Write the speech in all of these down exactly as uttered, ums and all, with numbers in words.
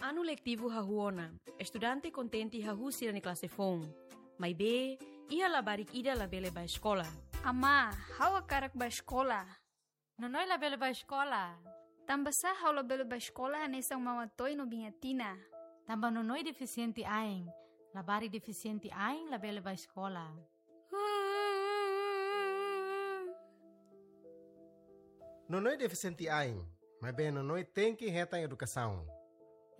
Anu letivu hahú ona, estudante kontente hahú sira-nia klase foun. Maibé, iha labarik ida labele bá eskola. Amá, ha'u hakarak bá eskola. Nonoi labele bá eskola. Tanbasá ha'u labele bá eskola hanesan Maun Atoy no Biin Atina? Tanba Nonoi defisiente ain. Labarik defisiente ain labele bá eskola. Nonoi defisiente ain, maibé Nonoi tenke hetan edukasaun.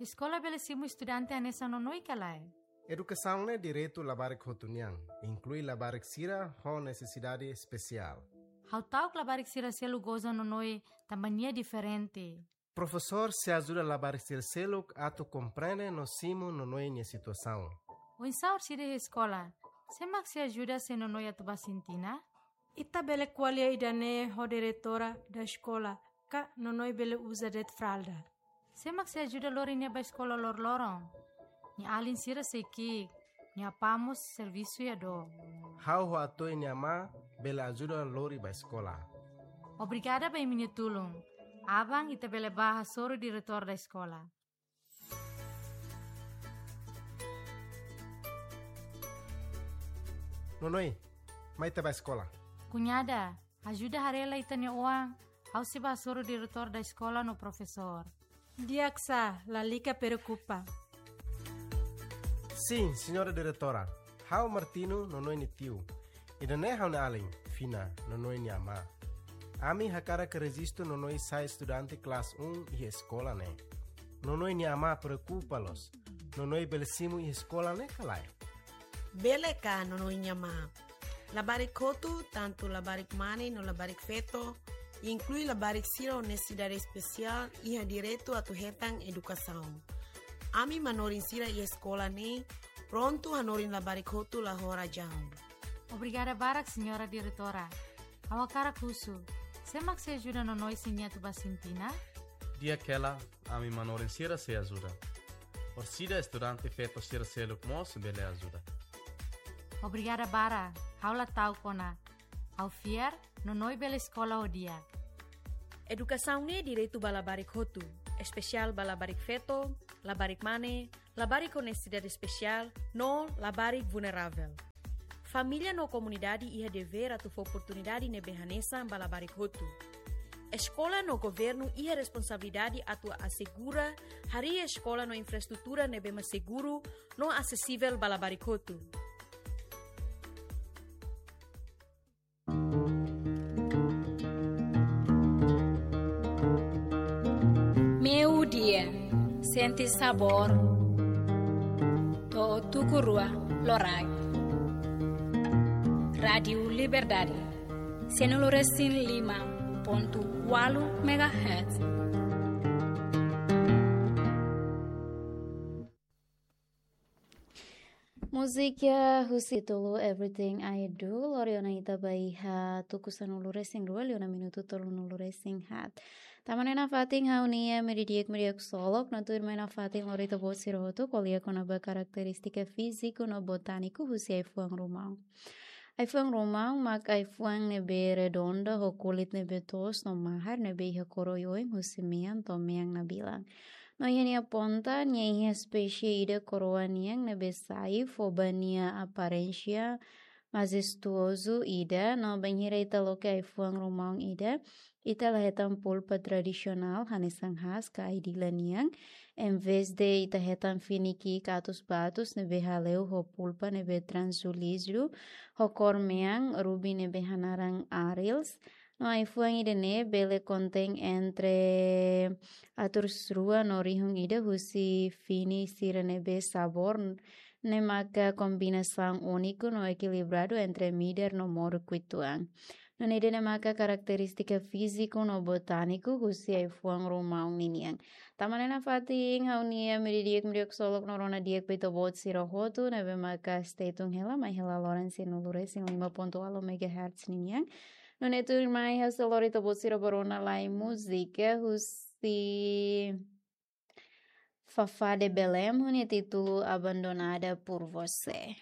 Eskola bele simu estudante hanesan Nonoi ka lae? Edukasaun ne'e direitu labarik hotu nian, inklui labarik sira ho nesesidade espesiál. Ha'u ta'uk labarik sira seluk goza Nonoi tanba nia diferente. Profesór sei ajuda labarik sira seluk atu komprende no simu Nonoi nia situasaun. Oinsá orsida iha eskola? Sé mak sei ajuda se Nonoi atu bá sintina? Ita bele ko'alia ida-ne'e ho diretora da eskola, ka Nonoi bele uza de'it fralda. Sé mak sei ajuda lori nia bá eskola loroloron? Nia alin sira sei ki'ik, nia apá mós servisu iha dook. Ha'u ho Atoy nia amá bele ajuda lori bá eskola. Obrigada ba imi-nia tulun. Aban ita bele bá hasoru diretór da eskola. Nonoi, mai ita bá eskola. Kuñada, ajuda haree lai ita-nia oan, ha'u sei bá hasoru diretór da eskola no profesór. Di'ak sá, lalika preokupa. Sin, señora diretora. Ha'u Martino, Nonoi nia tiu. Ida-ne'e ha'u-nia alin, Fina, Nonoi nia amá. Ami hakarak rejistu Nonoi sai estudante klase um iha eskola ne'e. Nonoi nia amá preokupa loos. Nonoi bele simu iha eskola ne'e ka lae? Bele ka, Nonoi nia amá. Labarik hotu, tantu labarik mane no labarik feto, inklui labarik sira ho nesesidade espesiál, iha direitu atu hetan edukasaun. Ami manorin sira iha eskola ne'e prontu hanorin labarik hotu la ho razaun. Obrigada barak, señora diretora. Ha'u hakarak husu, sé mak sei ajuda Nonoi se nia atu bá sintina? Di'ak hela, ami manorin sira sei ajuda. Orsida estudante feto sira seluk mós bele ajuda. Obrigada barak, ha'u la ta'uk ona. Ha'u fiar, Nonoi bele eskola ho di'ak. Edukasaun ne'e direitu ba labarik hotu, espesiál ba labarik feto, labarik mane, labarik ho nesesidade espesiál, no labarik vulneravel. Família no komunidade iha devér atu fó oportunidade ne'ebé hanesan ba labarik hotu. Eskola no governu iha responsabilidade atu asegura harii eskola no infraestrutura ne'ebé mak seguru no asesivel ba labarik hotu. Meiudia, sente sabór to'o tuku rua loraik. Rádiu Liberdade, sanulu resin lima pontu ualu megahertz. Múzika husi títulu Everything I Do, lori ona ita ba iha tuku sanulu resin rua, liu ona minutu tolunulu resin haat. Tama ona iha fatin ha'u-nia imi di'ak, imi di'ak ksolok, no tuirmai iha fatin lori ita-boot sira hotu ko'alia kona-ba karakterístika fíziku no botániku husi ai-fuan rumaun. Ai-fuan rumaun mak ai-fuan ne'ebé redonda ho kulit ne'ebé toos no mahar ne'ebé iha kór oioin husi mean to'o mean nabilan. No iha nia ponta, nia iha espésie ida koroa nian ne'ebé sai fó ba nia aparénsia majestuozu ida, no bainhira ita loke ai-fuan rumaun ida, ita la hetan pulpa tradisionál hanesan haas ka ai-dila nian. Envezde ita hetan fini ki'ik atus ba atus ne'ebé hale'u ho pulpa ne'ebé translúzidu, ho kór mean, rubi ne'ebé hanaran arils. No ai-fuan ida-ne'e bele kontein entre atus rua no rihun ida husi fini sira ne'ebé sabór, ne'e maka kombinasaun úniku no ekilibradu entre midar no moruk uitoan. No ne'e de'it ne'e maka karakterístika fíziku no botániku husi ai-fuan rumaun ninian. Tama ona iha fatin ha'u-nia imi di'ak, imi di'ak ksolok no rona di'ak ba ita-boot sira hotu ne'ebé maka stay tune hela, mai hela loron sanulu resin lima pontu ualu megahertz ninian. No ne'e tuirmai ha'u sei lori ita-boot sira ba rona lai múzika husi Fafá de Belém, ho nia títulu Abandonada por Você.